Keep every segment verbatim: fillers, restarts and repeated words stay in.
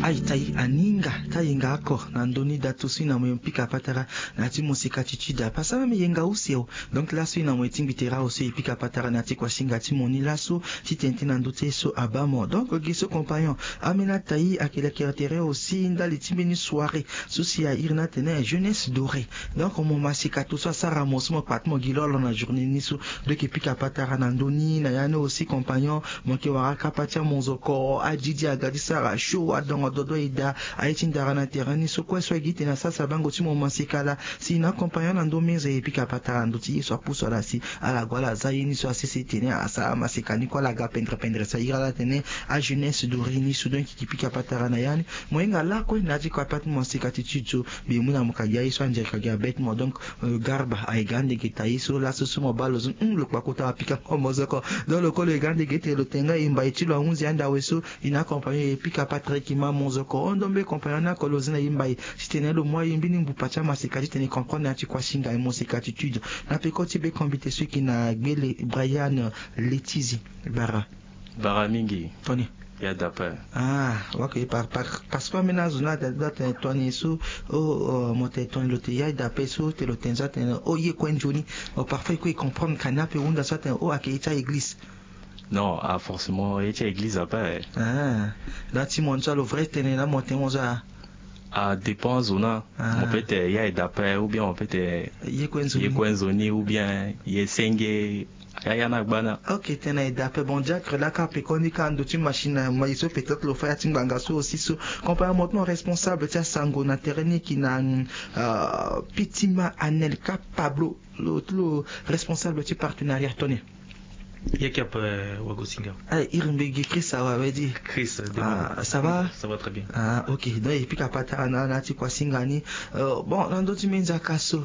Aita e aninga ti ayenga oko na ndö ni datu so e na mo e pika patara na ya ti mo sika ti tuda pasa même yenga use o. Donc laso e na mo e tingbi tere awe so e pika patara na ya ti kuasinga ti mo ni laso, titene ti na ndö ti ye so abaa mo. Donc gi so compagnon, ambeni aita e ayeke lekere tere aussi ndali ti mbeni soirée so si a iri ni atene jeunesse dorée. Donc mo masika tout so asara mo so mo kpa ti mo gi lolo na journée ni so. Donc e pika patara na ndö ni na ya ni aussi compagnon, mo yeke wara kapa ti amonzoko, adidi aga ti sara show, adongo dodo e daa aye ti ndara na terrain ni so kue so e gi tene asara si abango ti mo masika laa. Si na accompagner na ndö meza e pika patara na ndö ti ye so apusu ala si ala gue ala za ye ni so asese tene asara masika ni kue ala ga pendre pendre si a iri ala tene ajeunesse dorée ni so. Donc e pika patara na ya ni. Mo hinga lakue na ya ti kapa ti mo masika ti tude so mbi mu na mo ka gi aye so anzere ka gi abet mo. Donc garba aye ga ande ge ta ye so laso so mo baa lo zo hum lo kpakota apika ngo mozoko. Donc lo kue lo ye ga ande ge tene lo tene nga e mbai ti lo ahunzi ande awe so. E na accompagner e pika patara e yeke ma mozoko hon. Donc mbe compagnon ni oko lo zi na e mbai titene lo mu aye mbeni mbupa ti amasika titene e comprendre na ya ti kuasinga e mosika ti tude. Na peko ti be combite so e yeke na gbele brian letizi bara. Bara mingi. Toni. Ya dape. Ah, ok. Parce que ambeni azo ni atene toni so o mo tene toni lo tene ya dape so tene lo tene so atene o ye kue nzoni. Parfois e kue e comprendre ka ni ape hunda so atene o ayeke ye ti aeglise. Non, ah forcément ye ti aeglise ape. Ah, na ti mo ni so alo vrai tene na mo tene mo so a. Adépend azo ni. Mo peut tene ya e dape ou bien mo peut tene ye kue nzoni ou bien ye senge. Yaya na gbana. Ok, tena e dape bon diacre laka pekoni ka ndo ti machine na mai so peut-être lo fa ya ti ngbanga so aussi so. Compagnon mo ti mo responsable ti asango na terrain ni ki na pitima anelka pablo, lo ti lo responsable ti partenariat toni. Ye ki ape wagosinga. Iri mbi gi chris awa we di. Chris. Ça va? Ça va très bien. Ah ok, donc e pika patara na ala na ya ti kuasinga ni. Bon na ndö ti mbi nzaka so,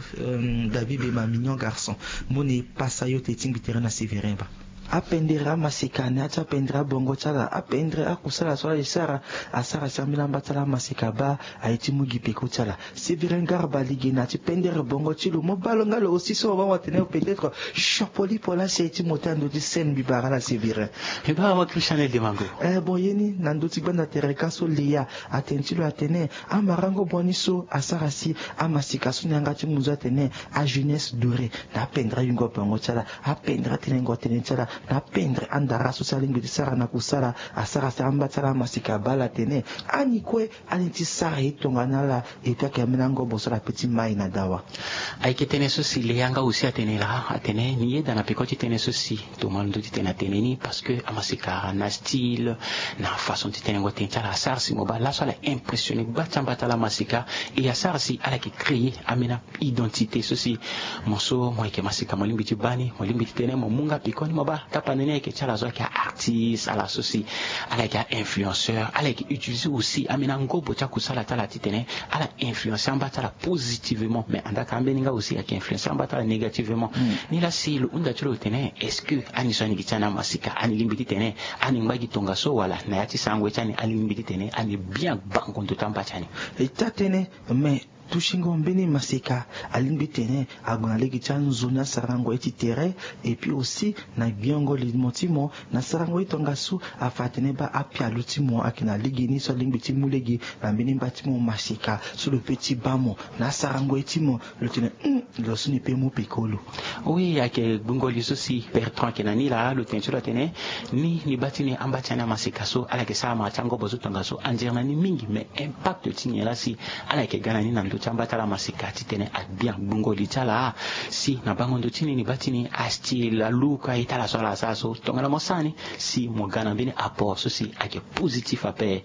david be ma mignon garçon, moni e pasa yo te tingbi tere na sévérin ba. Apendere amaseka na ya ti apendere abongo ti ala apendere akusala so ala e sara. Asara si ambeni amba ti ala amaseka baa aye ti mu gi peko ti ala. Sévérin garba lege na ya ti pendere bongo ti lo mo baa lo nga lo aussi so mo baa mo tene peut-être chapeau lipo laa si aye ti mo ti ando ti scène mbi bara ala sévérin. Mbi bara mo christian ede mango. Eh bon ye ni na ndö ti gbanda tere ka so leya atene ti lo atene amarango boni so asara si amasika so ni yanga ti mu zo atene ajeunesse dorée. Na apendre ayungo bongo ti ala apendre atenengo tënë ti ala na apendre andara so si alingbi ti sara na kusala. Asara si amba ti ala amasika abaa ala tene ani kue ani ti sara ye tongana ala. Epui ayeke ambeni angobo so ala pe ti mai na dawa. Ayeke tënë so si leya nga aussi atene laa atene ni yeda na peko ti tënë so si toma ndö ti tene atene ni parce que amasika na style na façon ti tenengo tënë ti ala asara si mo baa laso ala impressionne gba ti amba ti ala amasika. E asara si ala yeke créer ambeni identité so si mo so mo yeke masika mo lingbi ti baa ni mo lingbi ti tene mo mu nga piko ni mo baa kapa na ni ayeke ti ala so ayeke a-artiste ala so si ala yeke a-influenceur ala yeke utiliser aussi ambeni angobo ti akusala ti ala titene ala influencer amba ti ala positivement mais andaka ambeni nga aussi ayeke influencer amba ti ala négativement. Ni laa si lo hunda ti lo tene est-ce que ani so ani gi ti ani amasika ani lingbi titene ani ngba gi tongaso wala na ya ti sarango ye ti ani ani lingbi titene ani bien gbango ndo ti amba ti ani? E ti atene mais tusingo mbeni maseka alingbi tene ague na lege ti anzoni asarango ye ti tere. Epui aussi na gbiongo limo ti mo na sarango ye tongaso afa atene baa apialo ti mo ayeke na lege ni so alingbi ti mu lege na mbeni mba ti mo maseka so lo pe ti baa mo na asarango ye ti mo. Lo tene hum lo so ni pe mu peko lo. Oui ayeke gbungo li so si bertrand ayeke na ni laa lo tene ti lo atene ni ni baa ti ni amba ti ani amaseka so ala yeke sara mara ti angobo so tongaso anzere na ni mingi mais impact ti nyen laa si ala yeke ga na ni na ndö ti amba ti ala amaseka titene abien gbungo li ti ala. Si na bango ndo ti ni ni baa ti ni astil aluku aye ti ala so ala sara so tongana mo sara ni si mo ga na mbeni apport so si ayeke positif ape.